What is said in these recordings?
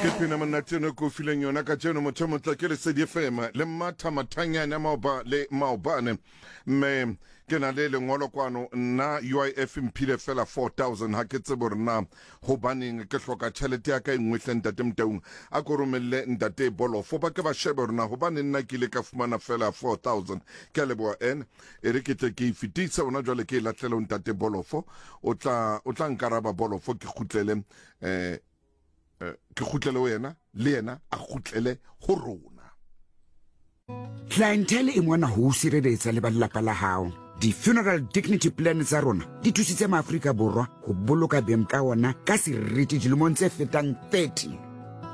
Ke pina monate eno e ke o fileng yona kajeno motho e motle ke Lesedi FM le Mmatha Mathanyane a maoba le maobane mme ke na le lengolo kwano nna UIF mphile fela 4000 ha ke tsebe hore na hobaneng ke hloka tjhelete ya ka e nngwe hle ntate Motaung a ko romelle ntate Bolofo ba ke ba shebe hore na hobaneng nna ke ile ka fumana fela 4000 ke a leboha en e re ke tle ke e fetise hona jwale ke e lahlele ho ntate Bolofo o tla o tla nkaraba Bolofo ke kgutlele eh ke kgutlele ho yena le yena a kgutlele ho rona. Clientele e mona ho o sireletsa le ba lelapa la hao. Di-funeral dignity plan tsa rona di thusitse maAfrika Borwa ho boloka beng ka ona ka seriti dilemong tse fetang 30.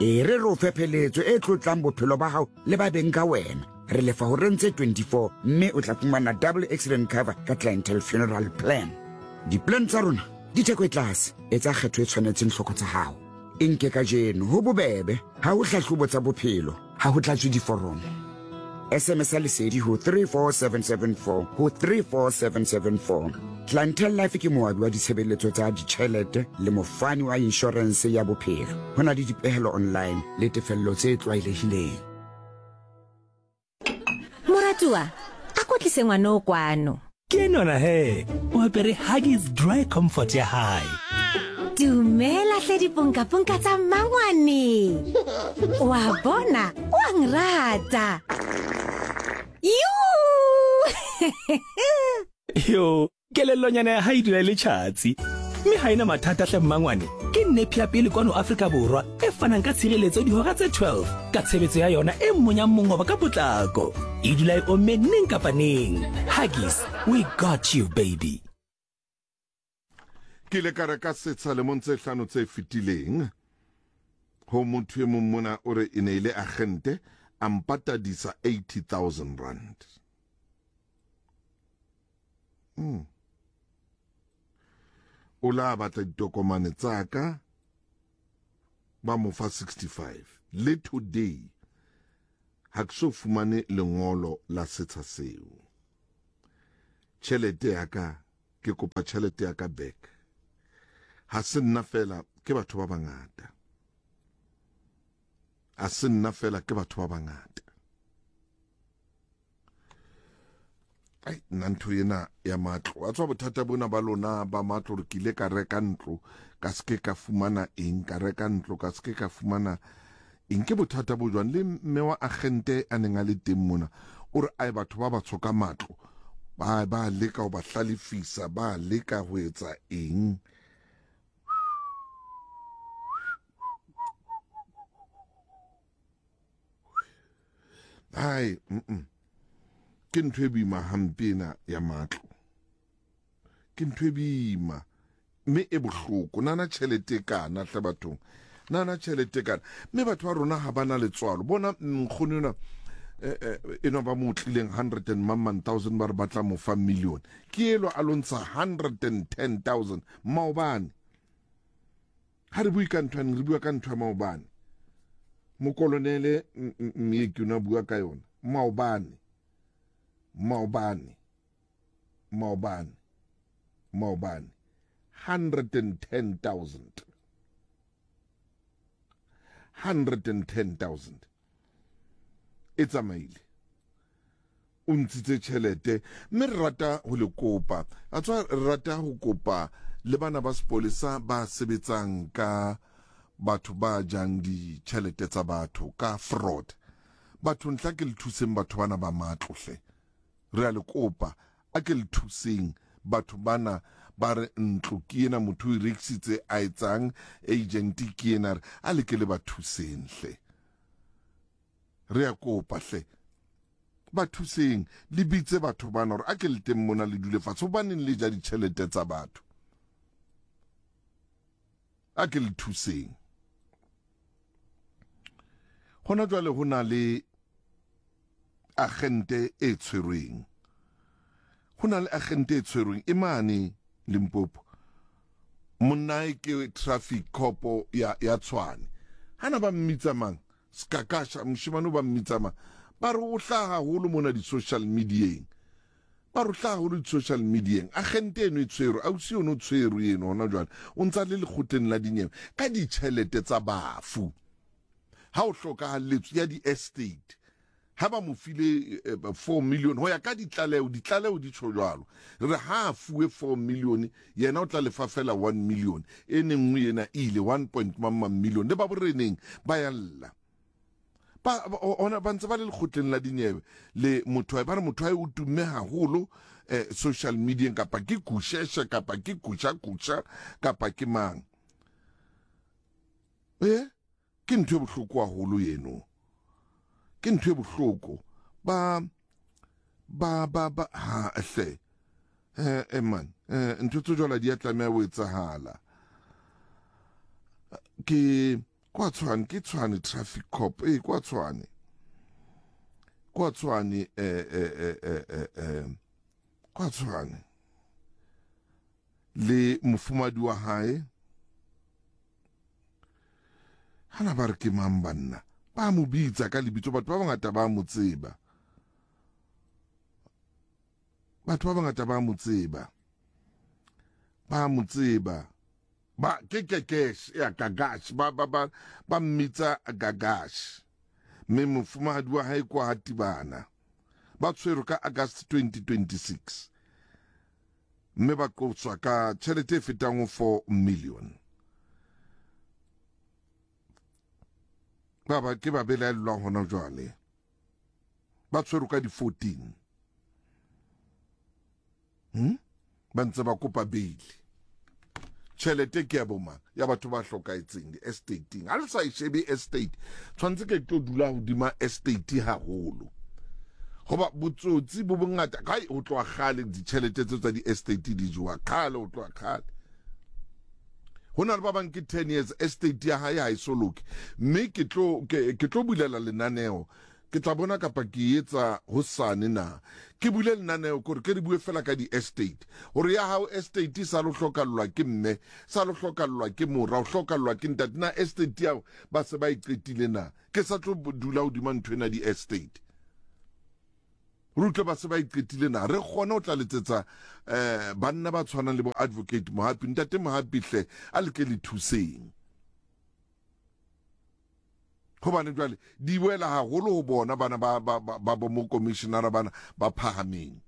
E re re o fe pheletso e tlotlang bophelo ba hao le ba beng ka wena. Re lefa horeng tse 24 mme o tla fumana double accident cover ka Clientele Funeral Plan. Di-plan tsa rona di theko e tlase, etsa kgetho e tshwanetseng hloko tsa hao. E nke kajeno, ho bobebe, ha ho hlahlobo tsa bophelo, ha ho tlatswe diforomo. SMS ya Lesedi ho 34774 ho 34774. Clientele Life ke moabi wa ditshebeletso tsa ditjhelete le mofani wa inshorense ya bophelo. Ho na le dipehelo online le tefello tse tlwaelehileng. Moratuwa, a ko tlise ngwana o kwano. Ke enwana he, o apere Huggies Dry Comfort ya hae. Dumela hle diponkaponka tsa mmangwane. Wa bona, o a ngrata. Yuu! Yo, Kelellonyana ya hae e dula e le tjhatsi mme ha e na mathata hle mmangwane. Ke nepi ya pele kwano Afrika Borwa e fanang ka tshireletso dihora tse 12 ka tshebetso ya yona e monyang mongobo ka potlako. E dula e omme neng kapa neng. Huggies, we got you baby. Ke ile ka reka setsha lemong tse hlano tse fetileng ho motho e mong mona o re e ne e le agente a mpatadisa 80000 rand. Mm. O la batla ditokomane tsa ka ba mo fa 65 le today ha ke so fumane lengolo la setsha seo. Tjhelete ya ka ke kopa tjhelete ya ka back. Ha se nna fela ke batho ba bangata. A se nna fela ke batho ba bangata. Ai, nna ntho ena ya matlo a tswa bothata bona ba lona ba matlo re ke ile ka reka ntlo ka se ke ka fumana eng ka reka ntlo ka se ke ka fumana eng ke bothata bo jwang le mme wa agente a neng a le teng mona o re ai batho ba batsho ka matlo ba ba leka ho ba hlalefisa ba leka ho etsa eng Hai, mm ke ntho e boima hampe ena ya matlo. Ke ntho e boima mme e bohloko. Nana tjhelete e kana hle bathong. Nana tjhelete e kana. Mme batho ba rona ha ba na letswalo. Bona nkgono enwa eh, eh, enwa ba mo tlileng 100 and mamman thousand ba re ba tla mo fa million. Ke elwa a lo ntsha 110,000 maobane. Ha re bue ka ntho re bua ka ntho ya maobane. Mokolonele Mmieki o ne a bua ka yona maobane. Maobane. Maobane. Maobane. 110,000. 110,000. E tsamaile. O ntshitse tjhelete mme re rata ho le kopa a tswa re rata ho kopa le bana ba sepolesa ba sebetsang ka batho ba jang ditjhelete tsa batho ka fraud batho ntla ke le thuseng batho bana ba matlo hle re a le kopa a ke le thuseng batho bana ba re ntlo ke ena motho o e rekisitse a etsang agent ke ena re a le ke le ba thuseng hle Re a kopa hle, ba thuseng, le bitse batho bana hore a ke le teng mona le dule fatshe. Hobaneng le ja ditjhelete tsa batho? A ke le thuseng. Hona jwale ho na le agente e tshwerweng. Ho na le agente e tshwerweng e mane Limpopo. Monnae ke traffic cop ya ya Tshwane. Hana ba mmitsa mang? Skakasha, moshemane o ba mmitsa mang? Ba re o hlaha haholo mona di-social medieng. Ba re o hlaha haholo di-social medieng. Agente eno e tshwerwe, ausi ono o tshwerwe eno hona jwale. O ntsa le lekgotleng la dinyewe ka ditjhelete tsa bafu. Ha o hlokahalletswe ya di-estate, ha ba mo file 4 million ho ya ka ditlaleho, ditlaleho di tjho jwalo. Re re ha a fuwe 4 million, yena o tla lefa fela 1 million. E nengwe ena e ile 1 point mang mang million. Le ba boreneng ba ya lla. Ba, ona ba ntse ba le lekgotleng la dinyewe le motho wa ba re motho wa o tumme haholo eh, social media kapa ke kusheshe kapa ke kusha kusha kapa ke mang. Eh? Ke ntho e bohloko haholo eno. Ke ntho e bohloko. Ba ba ba ba ha hle. Eh eh man, eh ntho tse jwalo di a tlameha ho etsahala. Ke kwa Tshwane, ke Tshwane traffic cop. Eh kwa Tshwane. Kwa Tshwane eh eh eh eh eh, eh kwa Tshwane. Le mofumadi wa hae Hana ba re ke mang banna? Ba mo bitsa ka lebitso, batho ba bangata ba mo tseba. Batho ba bangata ba mo tseba. Ba mo tseba. Ba ke Kekesh, ya Gagash, ba ba ba ba mmitsa Gagash. Mme mofumahadi wa hae kwa Hatibana. Ba tshwerwe ka August 2026. Mme ba qoswa ka tjhelete e fetang ho 4 million. Ba ba ke ba belaellwang hona jwale. Ba tshwerwe ka di-14. Hmm? Ba ntse ba kopa beili. Tjhelete ke ya bomang? Ya batho ba hlokahetseng di-estateng. Ha le sa e shebe estate, tshwanetse ke tlo dula hodima estate haholo. Hoba botsotsi bo bongata kae ho tloha kgale ditjhelete tseo tsa di-estate di jowa kgale ho tloha kgale. Ho na le ba bang ke 10 years estate ya hae ha e so loke. Mme ke tlo ke, ke tlo bulela lenaneo Ke tla bona kapa ke e etsa hosane na. Ke bule lenaneo kore ke re bue fela ka di-estate. Hore ya hao estate e sa lo hlokallwa ke mme, sa lo hlokallwa ke mora, o hlokallwa ke ntate. Na estate ya hao ba se ba e qetile na? Ke sa tlo dula hodima ntho ena di-estate. Re utlwe ba se ba e qetile na? Re kgone ho tla letsetsa eh, banna ba tshwanang le bo Advocate Mohapi. Ntate Mohapi hle, a le ke le thuseng. Gobane jwale di wela haholo ho bona bana ba ba ba, ba bo mokomishinara bana ba phahameng.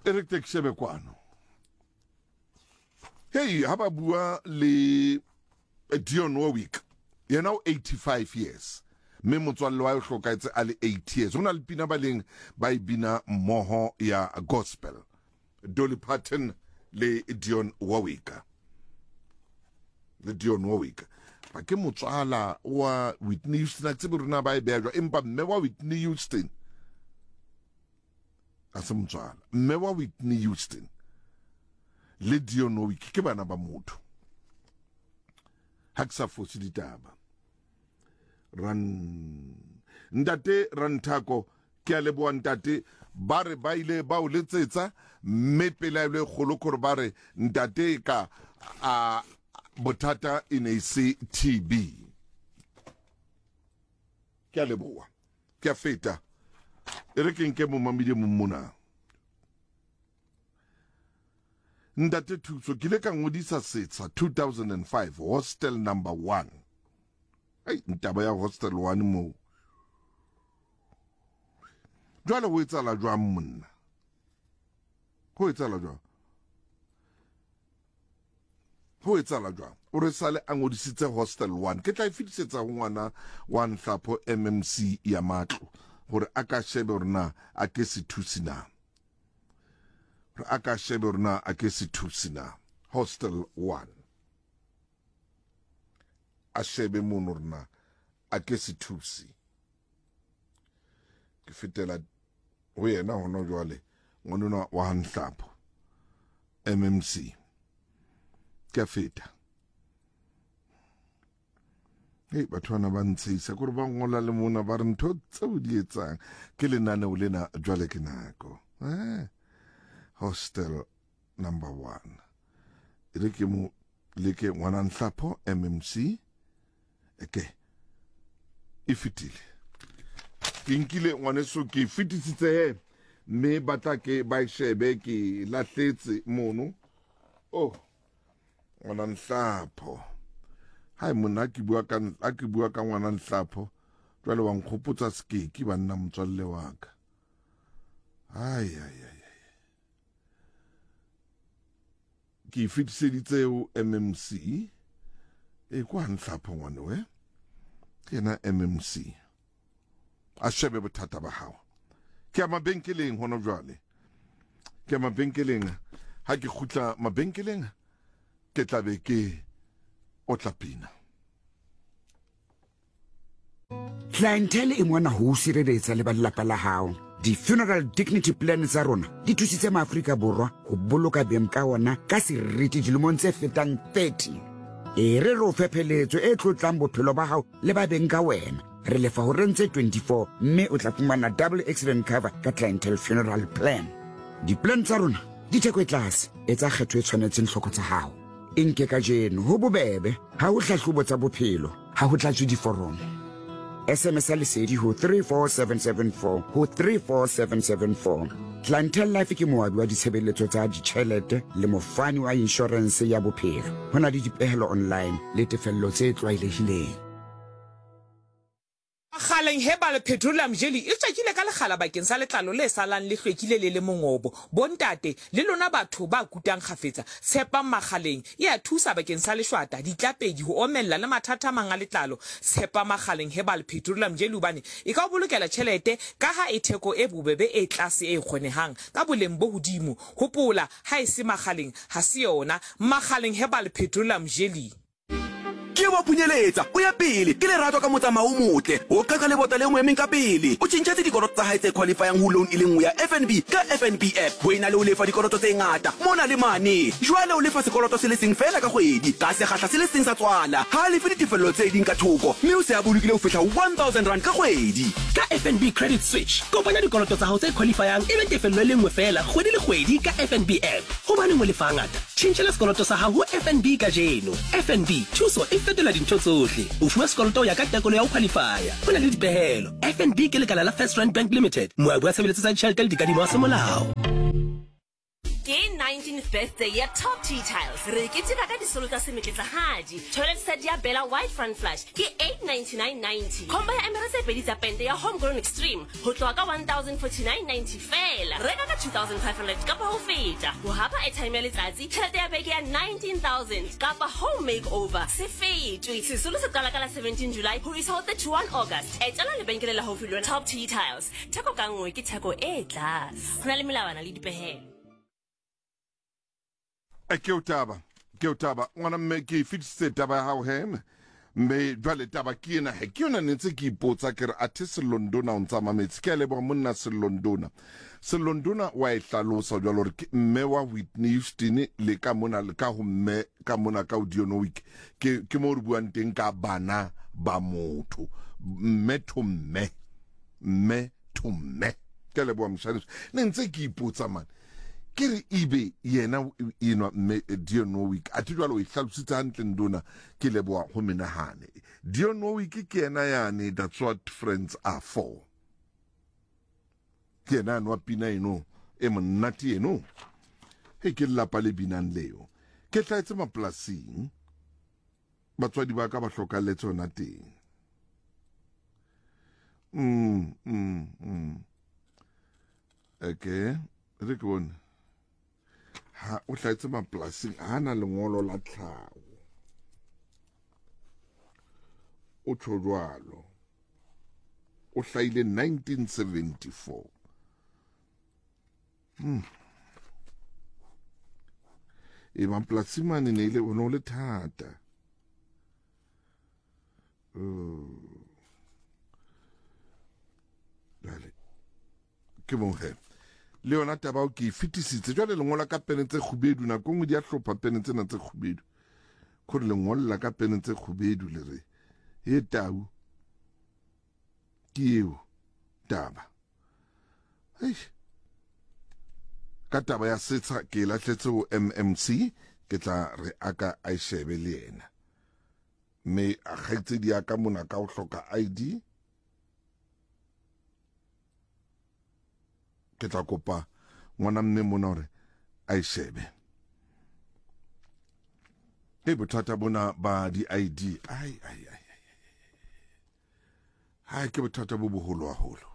E re ke shebe kwano. Hey, ha ba bua le Dion Warwick, yena o 85 years mme motswalle wa hlokahetse a le 8 years. Ho na le pina ba leng ba e bina mmoho ya gospel. Dolly Parton le Dion Warwick le Dion Warwick ba ke motswala wa Whitney Houston a tsebe rona ba e beha jwang empa mme wa Whitney Houston a se motswala mme wa Whitney Houston le Dion Warwick ke bana ba motho ha ke sa fose ditaba ran ntate Ranthako Ke a leboha ntate. Ba re ba ile ba o letsetsa mme pelaelo e kgolo kore ba re ntate ka a bothata e ne e se TB. Ke a leboha. Ke a feta. E re ke nke momamedi e mong mona. Ntate Thuso, ke ile ka ngodisa setsha 2005 hostel number 1. Ei, ntaba ya hostel 1 moo. Jwale ho etsahala jwang monna? Ho etsahala jwang? Ho etsahala jwang? O re sale a ngodisitse hostel 1. Ke tla e fetisetsa ho ngwana wa Nhlapho MMC ya matlo hore a ka shebe hore na a ke se thusi na. Hore a ka shebe hore na a ke se thusi na. Hostel 1. A shebe mono hore na a ke se thusi. Ke fetela ho yena hona jwale ngwanona wa Nhlapho MMC. Ke a feta. Hei, batho bana ba ntshehisa kore ba ngola le mona ba re ntho tseo di etsang ke lenaneo lena jwale ke nako. Eh, hostel number 1. E re ke mo leke ngwana Nhlapho MMC. Eke e fetile. Ke nkile ngwaneso ke fetisitse he mme ba tla ke ba e shebe ke lahletse mono. Oh, ngwana Nhlapho. Hai monna ha ke bua ka ha ke bua ka ngwana Nhlapho jwale wa nkgopotsa Sekeki banna motswalle wa ka. Ai ai ai. Ke e fetiseditse ho MMC. E kwa Nhlapho ngwane we. Ke yena MMC. A shebe bothata ba hao. Ke ya mabenkeleng hona jwale. Ke ya mabenkeleng. Ha ke kgutla mabenkeleng ke tla be ke otla pina. Clientele e mona ho o sireletsa le ba lelapa la hao. Di-funeral dignity plan tsa rona di thusitse maAfrika Borwa ho boloka beng ka ona ka seriti dilemong tse fetang 30. E re re o fe pheletso e tlotlang bophelo ba hao le ba beng ka wena. Re lefa horeng tse 24 mme o tla fumana double accident cover ka Clientele Funeral Plan. Di-plan tsa rona di theko e tlase, etsa kgetho e tshwanetseng tlhoko tsa hao. E nke kajeno, ho bobebe, ha ho hlahlobo tsa bophelo, ha ho tlatswe diforomo. SMS ya Lesedi ho 34774 ho 34774. Clientele Life ke moabi wa ditshebeletso tsa ditjhelete le mofani wa inshorense ya bophelo. Ho na le dipehelo online le tefello tse tlwaelehileng. Kgaleng Herbal Petroleum Jelly e tswakile ka lekgala bakeng sa letlalo le salang le hlwekile le le mongobo. Bontate, le lona batho ba kutang kgafetsa, tshepang Makgaleng. E a thusa bakeng sa leshwata, ditlapedi, ho omella le mathata a mang a letlalo. Tshepa Makgaleng Herbal Petroleum Jelly hobane e ka o bolokela tjhelete kaha e theko e bobebe e tlase e kgonehang ka boleng bo hodimo. Hopola, ha e se Makgaleng, ha se yona. Makgaleng Herbal Petroleum Jelly. Ke wa phunyeletsa, o ya pele ke lerato ka motsamao o motle, o qhaqha lebota le mo emeng ka pele. O tjhentjhetse dikoloto tsa hae tse qualifyang ho loan e le nngwe ya FNB ka FNB app ho ena le ho lefa dikoloto tse ngata mona le mane. Jwale o lefa sekoloto se le seng feela ka kgwedi ka sekgahla se le seng sa tswala. Ha a lefe ditefello tse ding ka thoko mme o se a bolokile ho fihla ho R1000 ka kgwedi. Ka FNB Credit Switch, kopanya dikoloto tsa hao tse qualifyang e be tefello e le nngwe feela kgwedi le kgwedi ka FNB app. Hobaneng o lefa hangata? Tjhentjhela sekoloto sa hao ho FNB kajeno. FNB, thuso e fetola dintho tsohle. O fuwa sekoloto ho ya ka tekolo ya ho khwalifaya. Ho na le dipehelo. FNB ke lekala la FirstRand Bank Limited, moabi wa tshebeletso tsa ditjhelete le dikadimo wa semolao. Ke 19th birthday ya Top Tea Tiles. Re keteka ka disolo tsa semetletsa-hadi. Toilet set ya Bella White Front Flush ke 899.90. Combo ya emere tse pedi tsa pente ya Homegrown Extreme ho tloha ka 1049.90 feela. Reka ka 2500 kapa ho feta ho hapa airtime ya letsatsi, tjhelete ya beke ya 19000 kapa home makeover. Se fetwe. Sesolo se qala ka la 17 July ho isa ho 31 August. Etela lebenkele le haufi le wena. Top Tea Tiles, theko ka nngwe ke theko e tlase. Ho na le melawana le dipehelo. E, ke o taba ke o taba ngwana mme ke e fetisitse taba ya hao he mme jwale taba ke ena he ke yona ne ntse ke ipotsa ke re athe Selondona o ntsa mametse ke a leboha monna Selondona Selondona wa e hlalosa jwalo hore ke mme wa Whitney Houston le ka mona le ka ho mme ka mona ka Dionne Warwick ke ke mo re buang teng ka bana ba motho mme to mme mme to mme ke a leboha moshaneso ne ntse ke ipotsa mane Ke re ebe yena enwa mme Dionne Warwick, athe jwale o e hlalositse hantle ndona, ke leboha ho menahane. Dionne Warwick ke yena yane That's What Friends Are For. Ke yena yane wa pina eno e monate eno. He ke lelapa le binang leo. Ke hlahetse mapolasing, batswadi ba ka ba hlokalletse hona teng. Mm, mm, mm. Okay, re ke bone. Ha o hlahetse mapolasing ha na lengolo la tlhaho. O tjho jwalo. O hlahile 1974. Hmm. E mapolasing mane ne ile o ne o le thata. Jwale ke mo he le yona taba o ke e fetisitse jwale le ngola ka pene tse kgubedu nako nngwe di a hlopha pene tsena tse kgubedu kore le ngolla ka pene tse kgubedu le re e tau ke eo taba Eish. Ka taba ya setsha ke e lahletse ho MMC ke tla re a ka a e shebe le yena mme a kgaitsedi ya ka mona ka ho hloka ID ke tla kopa ngwana mme mona hore a e shebe. Ke bothata bona ba di-ID. Ai, ai, ai, ai, ai. Hai, ke bothata bo boholo haholo.